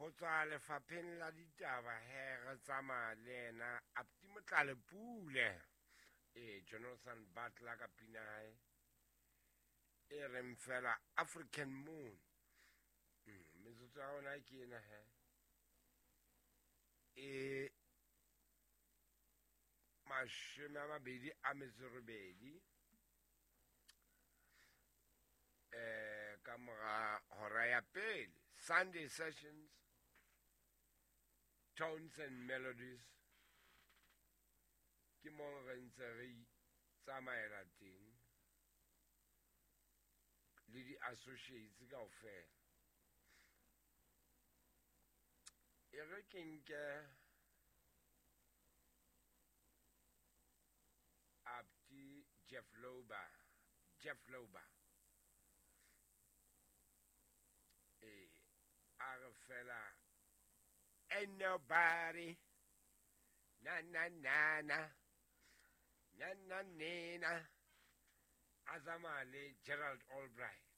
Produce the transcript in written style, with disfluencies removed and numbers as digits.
Ho tswa lefapheng la ditaba he re tsamaya le yena Apti Motlalepule. E Jonathan Butler ka pina hae e reng fela African Moon. Metsotso ya rona ke ena he. E 28 ka mora hora ya pele. Sunday Sessions, Tones and Melodies, ke mo re ntse re tsamaela teng le di-associates kaofela. E re ke nke Apti Jeff Loba, Jeff Loba. E a re fela ain't nobody na na na na na na nena, a tsamaya le Gerald Albright.